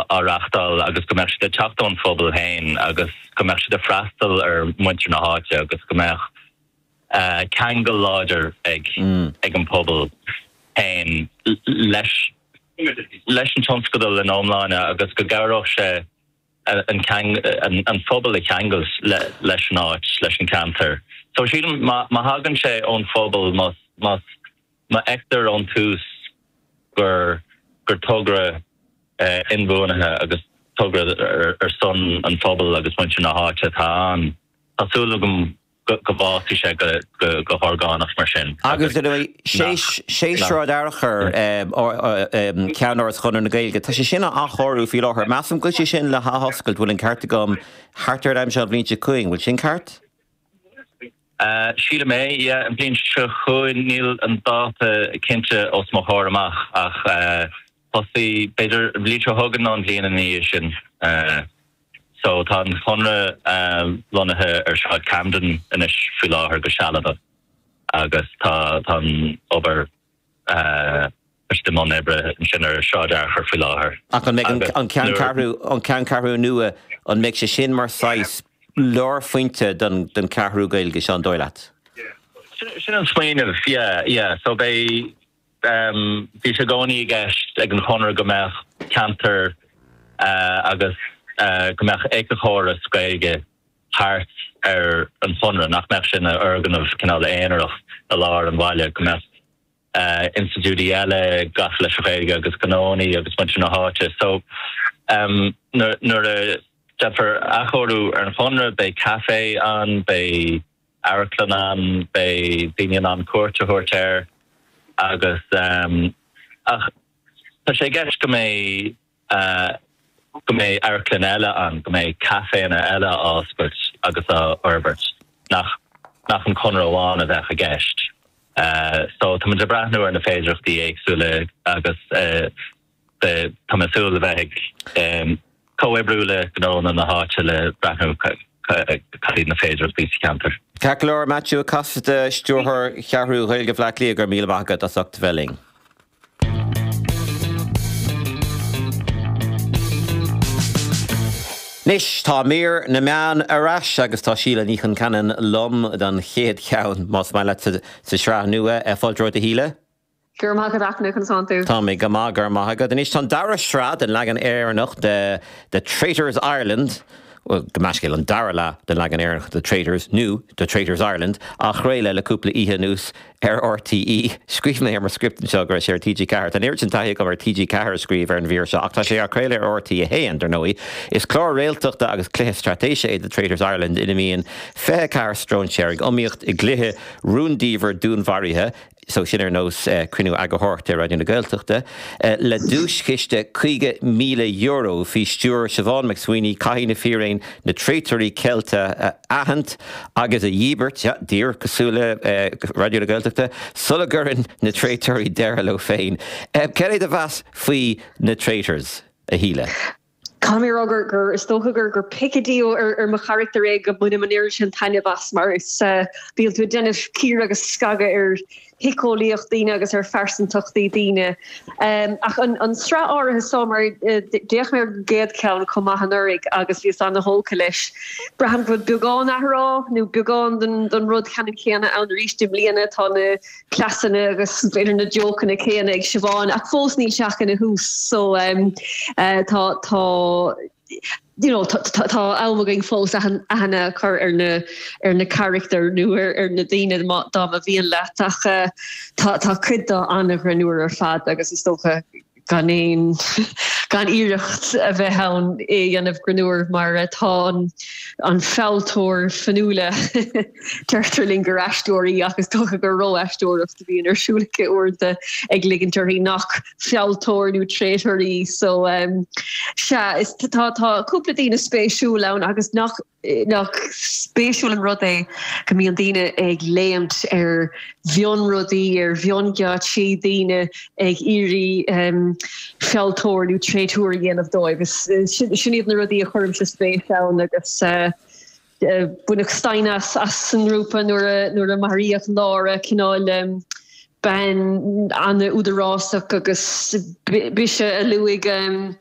á reachtáil agus go mbeadh siad ag teacht ón phobal féin agus go mbeadh siad ag freastal ar mhuintir na háite agus go mbeadh ceangal láidir ag ag an pobal féin leis leis an tionscadal ina iomláine agus go gcabhródh sé an an phobal a cheangailt leis an áit, leis an ceantar. So sílim má má thagann sé ón phobal, má má má fheictear ón tús gur gur togra inbhuanaithe agus togra ar son an phobail agus muintir na háite atá ann, tá súil agam go bhfásfaidh sé go horgánach mar sin. Agus, ar ndóigh, sé Sráid Fhearchair, ceannáras Chonradh na Gaeilge, tá sé sin á athchóiriú faoi láthair. Measaim go bhfuil sé sin le hathoscailt, bhfuil an ceart agam, thart ar an am seo an bhliain seo chugainn, bhfuil sin ceart? Sílim é, yeah, an bhliain seo chugainn, níl an dáta cinnte os mo chomhair amach ach tosaí, b'fhéidir an bhliain seo chugainn nó an bhliain ina dhiaidh sin. So tá an Conradh lonnaithe ar Shráid Camden anois faoi láthair go sealadach agus tá tá an obair tá siad i mbun oibre ansin ar Shráid Fhearchair faoi láthair. Ach an mbeidh an ceanncheathrú an ceanncheathrú nua an mbeidh sé sin mar saghas lárphointe don don cheathrú Gaeilge seo an dóigh leat? Sin an smaoineamh, yeah, yeah. So beidh Bhí sé i gcónaí i gceist ag an Chonradh go mbeadh ceantar agus go mbeadh éiceachóras Gaeilge thart ar an Chonradh, nach mbeadh sé ina fhoirgneamh cineál aonarach i lár an bhaile, go mbeadh institiúidí eile gafa leis an Ghaeilge agus gnónnaí agus muintir na háite. So nuair a déanfar athchóiriú ar an Chonradh, beidh caife ann, beidh. amharclann ann, beidh daoine in ann cuairt a thabhairt air agus ach tá sé i gceist go mbeidh go mbeidh amharclann eile ann, go mbeidh caiféanna eile á oscailt agus á fhorbairt, nach nach an Conradh amháin a bheadh i gceist. So tá muid ag breathnú ar na féidearthachtaí éagsúla agus Tá mé ag súil le bheith ag comhoibriú le gnónna na háite le breathnú cad iad na féidearthachtaí sa cheantar. Ceart go leor, Maitiú Ó Casaide, Stiúrthóir Cheathrú Ghaeilge Bhaile Átha Cliath, go raibh míle maith agat as ucht a bheith linn. Anois tá mír na meán ar ais agus tá Síle Ní Chonceanainn liom don chéad cheann, más maith leat, sa tsraith nua. Fáilte romhat, a Shíle. Go raibh maith agat a Fhionn, conas tánn tú? Tá mé go maith, go raibh maith agat. Anois tá an dara sraith den leagan Éireannach de The Traitors Ireland, bhuel, gabh mo leithscéal, an dara leath den leagan Éireannach de The Traitors, nó The Traitors Ireland, á chraoladh le cúpla oíche anuas ar RTÉ. Scríobh mé ar mo script anseo go raibh sé ar TG4. Tá an oiread sin taithí agam ar TG4 a scríobh ar an mhír seo, ach tá sé á chraoladh ar RTÉ 1, dar ndóigh. Is clár réaltachta agus cluiche straitéise é The Traitors Ireland ina mbíonn 24 stróinséir ag iomaíocht i gcluiche rúndiamhair dúnmharaithe, so sin ar nós cruinniú eagarthóireachta ar Raidió na Gaeltachta, le duaischiste €50,000 faoi stiúir Siobhán McSweeney, caithfidh na fíréin na traotóirí ceilte a aithint agus a dhíbirt, yeah, díreach cosúil le Raidió na Gaeltachta, sula gcuireann na traotóirí deireadh leo féin. Cad é do mheas faoi na Traitors, a Shíle? Caithfidh mé a rá gur, gur, is dócha gur, gur picadillo ar, ar mo charachtar é go mbainim an oiread sin taitneamh as mar is, bíonn tú ag déanamh cíoradh agus scagadh ar shíceolaíocht daoine agus ar phearsantachtaí daoine. Ach an, an sraith áirithe seo mar d'fhéach mé ar an gcéad cheann chomh maith anuraidh agus bhíos ana-thógtha leis. Braithim go bhfuil beagán athrá nó beagán den, den rud ceannann céanna ann arís i mbliana. Tá na cleasanna agus b'fhéidir na jócanna céanna ag Siobhán ach fós níl sé ach ina thús so tá tá you know tá tá am againn fós aithne a chur ar na ar na carachtair nó ar ar na daoine dá mba mhian leat ach tá tá cuid de an-ghreannmhar ar fad agus is dócha gan aon gan iarracht a bheith ann é a dhéanamh greannmhar mar tá an an fealltóir Fionnuala deirtear linn gur aisteoir í ach is dócha gur ró-aisteoireacht a bhíonn ar siúl aici uaireanta ag ligint uirthi nach fealltóir nó traitor í so sea is tá tá cúpla daoine spéisiúil ann agus nach Nach spéisiúil an rud é go mbíonn daoine ag léimt ar mhionrudaí, ar mhiongheáitsí, daoine ag iarraidh fealltóir nó traotóir a dhéanamh dóibh. Sin iad na rudaí a chuirimse spéis ann agus baineadh staighne as san ngrúpa nuair a maraíodh Laura, cineál bean an-údarásach agus b'ise a luaigh.